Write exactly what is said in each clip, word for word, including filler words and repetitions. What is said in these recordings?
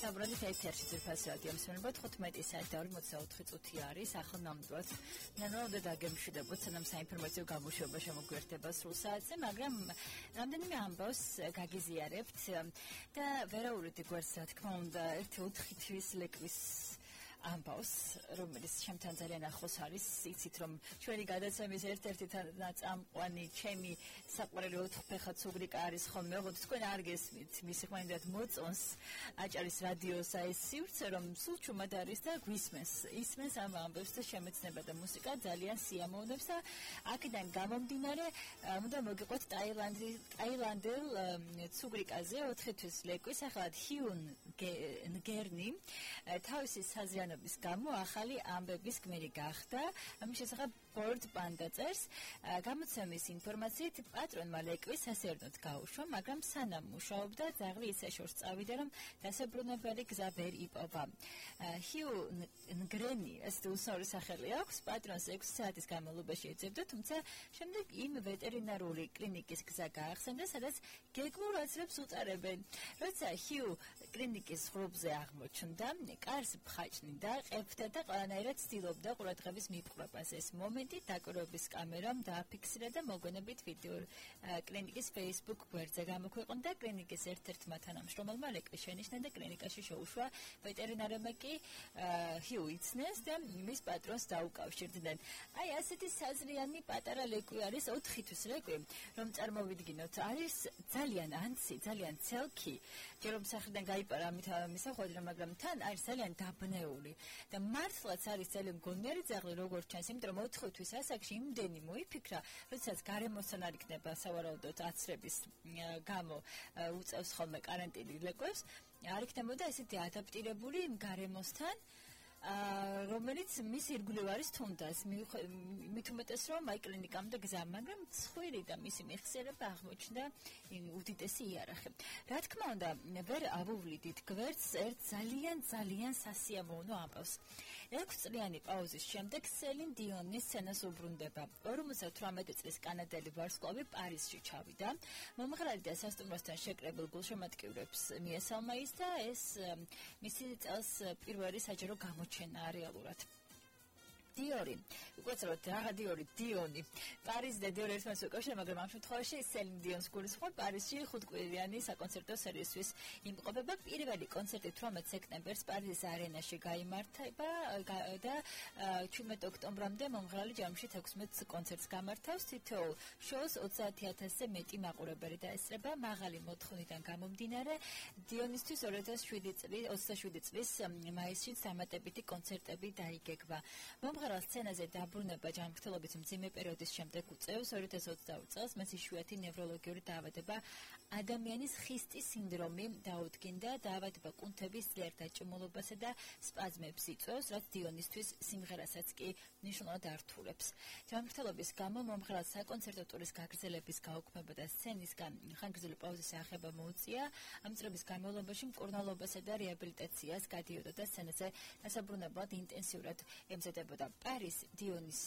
საუბრობთ ეთერში ძირფასი რადიო მსმენელო თხუთმეტი საათი და ორმოცდაოთხი წუთი არის ახლა ნამდვილად ნამდვილად დაგემშვიდობთ სანამ საინფორმაციო გამოშვება შემოგვიერთება სრულ საათზე მაგრამ რამდენიმე ამბავს გაგიზიარებთ და ვერაურით გვერდს რა თქმა უნდა ერთი ოთხი თვის ლეკვის ამბავს რომელიც ჩემთან ძალიან ახლოს არის იცით რომ ჩვენი გადაცემის ერთ-ერთი ნაწამყვანი ჩემი საყვარელი ოთხფეხა ცუგრიკა არის ხოლმე ოღონდ თქვენ არ გესმით მისი ხმანდად მოწონს აჭარის რადიოს აი სივრცე რომ სულ ჩუმად არის და გვისმენს ისმენს ამ ამბებს და შემეცნება და მუსიკა ძალიან სიამოვნებს და აქედან გამომდინარე უნდა მოგიყვეთ ტაილანდი ტაილანდელ ცუგრიკაზე ოთხი თვის ლეკვის ახლა ჰიუნ ნგერნი თავისი საზრიან გამო ახალი ამბების გმირი გახდა ამის შესახებ ბორდ პანდა წერს გამოცემის ინფორმაციით პატრონმა ლეკვის სასიარდნოდ გაუშვა მაგრამ სანამ მუშაობდა ძაღლი ისე შორს წავიდა რომ დასაბრუნებელი გზა ვერ იპოვა ჰიუ ნგრენი ეს უსაური სახელი აქვს პატრონს ექვსი საათის განმავლობაში ეძებდა თუმცა შემდეგ იმ ვეტერინარული კლინიკის გზა გაახსენდა სადაც გეგმურ აცრებს უწარებენ როცა ჰიუ კლინიკის ღრუბზე აღმოჩნდა კარს მხაჭნი და ყებდა და ყველანაირად ცდილობდა ყურადღების მიპყრობას ეს მომენტი დაკვირვების კამერამ დააფიქსირა და მოგვიანებით ვიდეო კლინიკის Facebook გვერდზე გამოქვეყნდა კლინიკის ერთ-ერთმა თანამშრომელმა ლეკვის შენიშნა და კლინიკაში შეუშვა ვეტერინარებმა კი ჰიუ იცნეს და მის პატრონს დაუკავშირდნენ აი ასეთი საზრიანი პატარა ლეკვი არის ოთხი თვის ლეკვი რომ წარმოვიდგინოთ არის ძალიან ანცი ძალიან ცელქი ჯერ რომ სახრიდან გაიპარა ამით მისახვედრა მაგრამ თან არის ძალიან დაბნეული და მართლაც არის ძალიან მგონიერი ძაღლი როგორც ჩანს იმიტომ რომ ოთხი თვის ასაკში იმდენი მოიფიქრა როდესაც გარემოსთან არ იქნება სავარაუდოდ აცრების გამო უწევს ხოლმე კარანტინი ლეკვებს არ იქნებოდა ესეთი ადაპტირებული იმ გარემოსთან რომელიც მის ირგვლივ არის თუნდაც მით უმეტეს რომ აი კლინიკამდე გზა მაგრამ ცხვირი და მისი მეხსიერება აღმოჩნდა უდიდესი იარაღი რა თქმა უნდა ვერ ავუვლიდით გვერდს ერთ ძალიან ძალიან სასიამოვნო ამბავს ექვსწლიანი პაუზის შემდეგ სელინ დიონის სცენას უბრუნდება ორმოცდათვრამეტი წლის კანადელი ვარსკვლავი პარიზში ჩავიდა მომღერალი და სასტუმროსთან შეკრებილ გულშემატკივრებს მიესალმა ის და ეს მისი წელს პირველი საჯარო გამო ჩენა რეალურად დიორი უყურეთ რა დიორი დიონი პარიზი და დიორი ერთმანეთს უკავშირდება მაგრამ ამ შემთხვევაში სელინ დიონს გულისხმობ პარიზში ხუთკვირიანი საკონცერტო სერიისთვის იმყოფება პირველი კონცერტი თვრამეტ სექტემბერს პარიზის არენაში გაიმართა და ჩვიდმეტი ოქტომბრამდე მომღერალი ჯამში თექვსმეტ კონცერტს გამართავს თითოეულ შოუს ოცდაათი ათასზე მეტი მაყურებელი დაესწრება მაღალი მოთხოვნიდან გამომდინარე დიონისთვის ორი ათას შვიდი წლის ოცდაშვიდი წლის მაისში დამატებითი კონცერტები დაიგეგმა მომღერალ სცენაზე დაბრუნება ჯანმრთელობის მძიმე პერიოდის შემდეგ უწევს ორი ათას ოცდაორი წელს მას იშვიათი ნევროლოგიური დაავადება ადამიანის ხისტის სინდრომი დაუდგინდა დაავადება კუნთების ძლიერ დაჭმულობასა და სპაზმებს იწვევს რაც დიონისთვის სიმღერასაც კი მნიშვნელოვნად ართულებს ჯანმრთელობის გამო მომღერალს საკონცერტო ტურის გაგრძელების გაუქმება და სცენისგან ხანგრძლივი პაუზის აღება მოუწია ამ წლების განმავლობაში მკურნალობასა და რეაბილიტაციას გადიოდა და სცენაზე დასაბრუნებლად ინტენსიურად ემზადებოდა პარის დიონის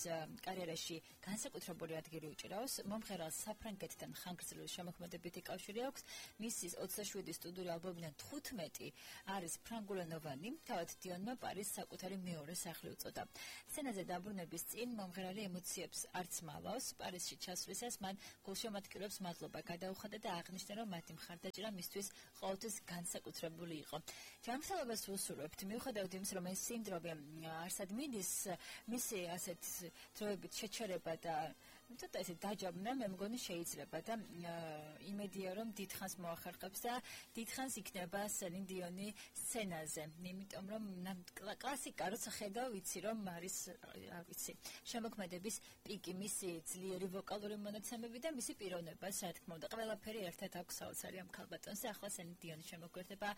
კარიერაში განსაკუთრებული ადგილი უჭირავს მომღერალს საფრანგეთთან ხანგრძლივი შემოქმედებითი კავშირი აქვს მისი ოცდაშვიდი სტუდიური ალბომიდან თხუთმეტი არის ფრანგულენოვანი თავად დიონმა პარის საკუთარი მეორე სახლი უწოდა სცენაზე დაბრუნების წინ მომღერალი ემოციებს არც მალავს პარიზში ჩასვლისას მან გულშემატკივრებს მადლობა გადაუხადა და აღნიშნა რომ მათი მხარდაჭერა მისთვის ყოველთვის განსაკუთრებული იყო ჯანმრთელობას ვუსურვებთ მიუხედავად იმისა რომ ეს სინდრომი არსად მიდის მისი ასეთ დროებით შეჩერება და ცოტა ესე დაჯაბნა მე მგონი შეიძლება და იმედია რომ დიდხანს მოახერხებს და დიდხანს იქნება სელინ დიონი სცენაზე იმიტომ რომ კლასიკა როცა ხედავ ვიცი რომ არის რა ვიცი შემოქმედების პიკი მისი ძლიერი ვოკალური მონაცემები და მისი პიროვნებას რა თქმა უნდა ყველაფერი ერთად აქვს საოცარი ამ ქალბატონზე ახლა სელინ დიონი შემოგვერდება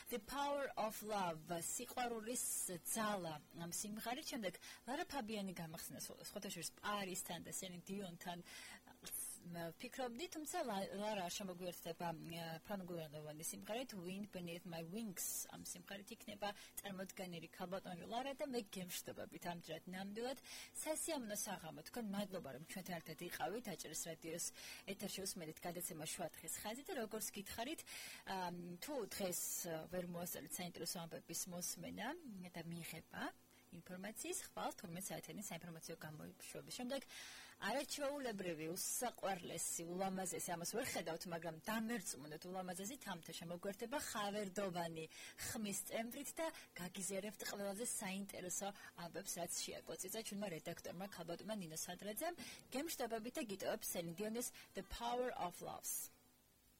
The Power of Love სიყვარულის ძალა ამ სიმღერით შემდეგ ლარა ფაბიანი გამახსნა სხვათა შორის პარისთან და სელინ დიონთან ვფიქრობდი, თუმცა ლარა შემოგვიერთდება ფრანგულენოვანი სიმღერით Wind Beneath My Wings. ამ სიმღერით იქნება წარმოდგენილი ქალბატონი ლარა და მე გემშვიდობებით ამჯერად ნამდვილად სასიამოვნო საღამო. თქვენ მადლობა რომ ჩვენთან ერთად იყავით აჭარის რადიოს ეთერში უსმენთ გადაცემა შუადღის ხაზი და როგორც გითხარით, თუ დღეს ვერ მოასწრეთ საინტერესო ამბების მოსმენა და მიღება ინფორმაციის ხვალ თორმეტ საათიანი საინფორმაციო გამოშვების შემდეგ არაჩვეულებრივი, უსაყვარლესი, ულამაზესი, ამას ვერ ხედავთ, მაგრამ დამერწმუნდეთ ულამაზესი თამთა შემოგვერთება ხავერდოვანი ხმის წემვრით და გაგიზიარებთ ყველაზე საინტერესო ამბებს, რაც შეაკოწიცა ჩვენმა რედაქტორმა ქალბატონმა ნინო სადრაძემ. გემშვიდობებით და გიტოვებ სელინ დიონის The Power of Loves.